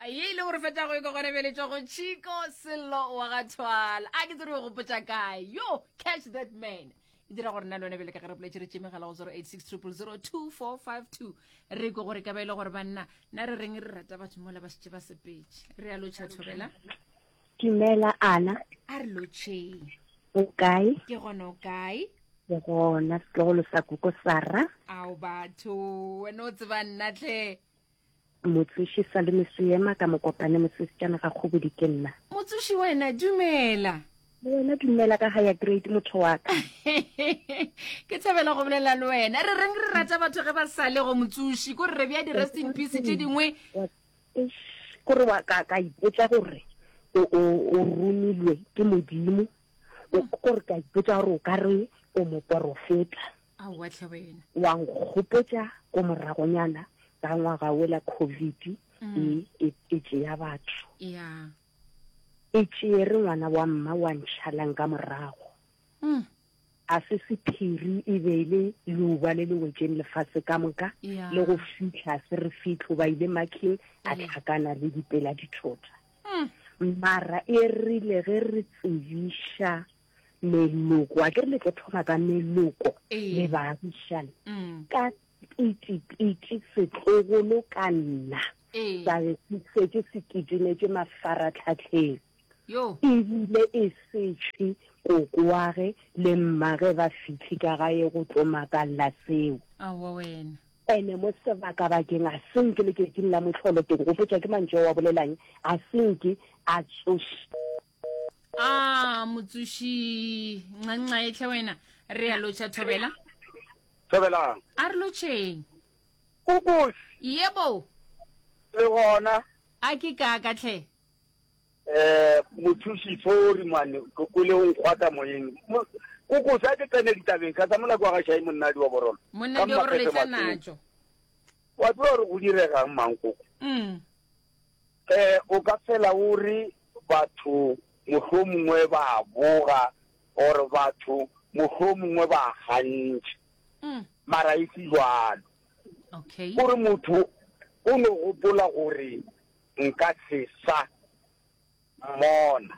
Ye ile gore fetša go e gona bjale tšwa go Chico Sello wa ga Thwala. A ke tsere o gopotša kae. Yo, catch that man. E dira gore nna le wena bjale ka ge re boletše re tše megala go 086 0002452. Re kwe gore ka ba e le gore banna na re reng re rata batho mola ba šetše ba sepetše. Re a lotšha thobela. Dumela Ana. A re lotšheng. O kae? Ke gona o kae? Ke gona setlogolo sa koko Sara. Ao batho, wena o tseba nna tlhe. Motsoši Salome Seema ka Mokopane Mosesitšana ga Kgobodi ke nna. Motsoši wena dumela. Le wena dumela ka higher grade motho wa ka. Ke thabela go bolela le wena. Re reng re rata batho ge ba sa le go motsoši ko re re bja di-rest in peace tše dingwe. Kore wa ka ka ipotsa gore o o o romilwe ke Modimo. O kore ka ipotsa gore o ka re o moporofeta. Aowa tlhe wena. Wa nkgopotša ko moragonyana ka ngwaga wola Covid e, e, e tšea batho. Ya. E tšeere ngwana wa mma wa ntšhalang ka morago. Mm. A se sephiri e be e le leuba le le wetšeng lefase ka moka, Ya. le go fihla se re fihle ba ile makhing a Ee. hlakana le dipela dithota. Mm. Mara e rile ge re tsebiša meloko a ke re le tlo thoma ka meloko le baagišane mm. ka pitipiti setlogolo ka nna sa be se šetše se kitimetše mafaratlhatlheng ebile e setšhe kokoage le mmage ba fitlhe ka gae go tlo makalela seo. Ene mo sebakabakeng a senke letšatšing la mohlolo ke go gopotša ke mantšu ao a bolelang a senke a tsoša. A motsoši ncancaetlhe wena re a lotšha thobela. Thobelang. A re lotšheng. Kukusi. Yebo. Le gona. A ke kaka tlhe. Eh mothuši sorry man ke kwele o nkgwata moyeng. Kukusi a ke tsene ditabeng ka tsa mola kwa ga Shai monnadi wa borolo. Monnadi wa borolo e tla natšo. Wa tseba gore go diregang mang koko? Mm. Eh o ka fela o re batho mohlomongwe ba boga or batho mohlomongwe ba gantšha mm. mara e se jwalo okay. gore motho o no gopola gore nka se sa mmona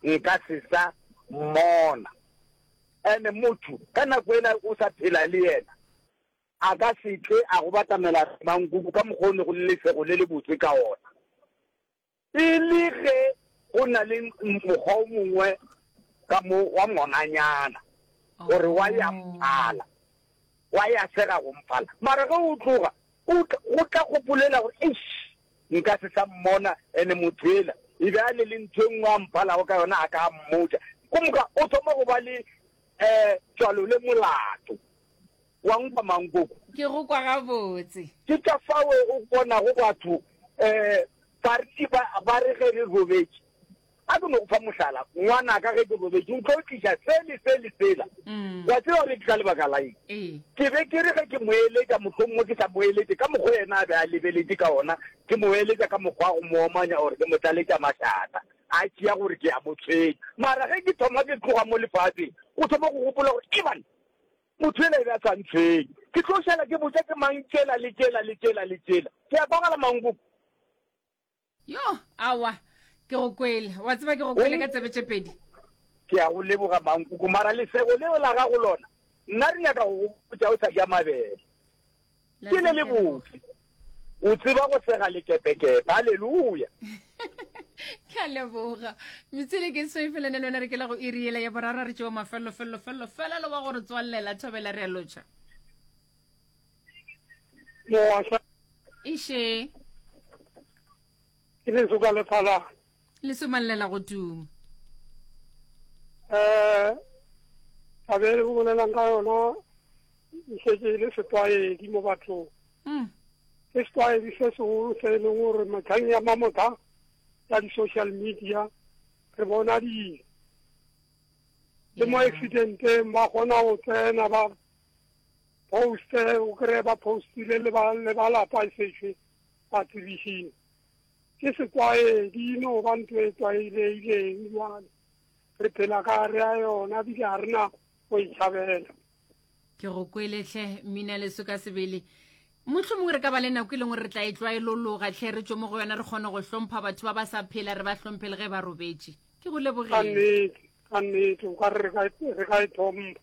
nka se sa mmona ene motho ka nako ela o sa phela le yena A ka se tle a go batamela mankoko ka mokgwa o ne go le lesego le lebotse ka ona. E le ge go na le mokgwa o mongwe ka mo wa ngwananyana gore wa ya mphala, wa ya sega go mphala. Mara ge o tloga, o tla, go tla gopolela gore, Eish, nka se sa mmona, ene motho ela e be a le le ntho e nngwe a mphalago ka yona a ka a mmotša. Ko moka o thoma go ba le um tswalo le molato. Wa nkwa mang koko? Ke go kwa gabotse. Ke ka fao o bonago batho um bariti ba, ba re ge re robetše. A ke no go fa mohlala, ngwanaka ge ke robetše o tlo tliša se le se le sela. Wa tseba gore ke ka lebaka la eng? Ke be ke re ge ke mo eletša, mohlomongwe ke sa mo eletše ka mokgwa yena a be a lebeletše ka ona, ke mo eletša ka mokgwa wa go mo omanya or ke mo tlaletša mašata, a tšea gore ke a mo tshwenya. Mara ge ke thoma ke tloga mo lefaseng, o thoma go gopola gore, Eban, Motho yela e be a sa ntshwenye. Ke tlo šala ke botša ke mang tšela le tšela le tšela le tšela. Ke a kwagala Mankoko? Yo, aowa, ke go kwele. Wa tseba ke go kwele ka tsebe tše pedi. Ke a go leboga Mankoko, mara lesego leo la gago lona, nna re nyaka go go botša o sa ja mabele. Ke le lebotse. O tseba go sega lekepekepe. Haleluya! Ke a leboga. Metswele ke so e felene le wena re ke la go iri yela ya boraro re tšewa mafelelo felelo felelo felelo wa gore tswallela thobela re a lotšha. Moasa. Iše. Ke leso ka lephala. Le somallela go tuma. Eh, taba e o bolelang ka yona e šetše e le setlwaedi mo bathong. Mm. Ke setlwaedi se segolo se e leng gore metlheng ya mamotha ya di-social media re bona dilo. Le mo accidenteng ba kgona go tsena ba poste, o kry-e ba postile le ba le ba lapa e sešwe ba tsebišile. Ke setlwaedi, e no ba ntho e tlwaelegileng bjale. Re phela ka gare ga yona bile ga re na go e tšhabela. Ke go kwele hle, mmina leso ka sebele. Mohlomongwe re ka ba le nako e leng gore re tla e tlwaelologa tlhe re tšwe mo go yona re kgone go hlompha batho ba ba sa phela re ba hlomphe le ge ba robetše. Ke go Ka lebogile. nnete, ka nnete, o ka re re ka e, re ka e thompha.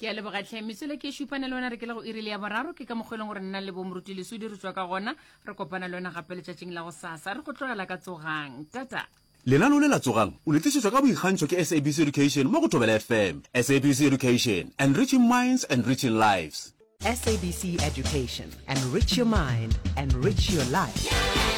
Ke a leboga tlhe. Metswele ke e šupane le wena re ke le go iri le ya boraro ke ka mokgwa e leng gore nna le bo Moruti Lesodi re tšwa ka gona re kopana le wena gape letšatšing la go sasa re go tlogela ka tsogang. Tata. Lenaneo le la Tsogang o le tlišetšwa ka boikgantšho ke SABC Education mo go Thobela FM. SABC Education, enriching minds, enriching lives. SABC Education, enrich your mind, enrich your life.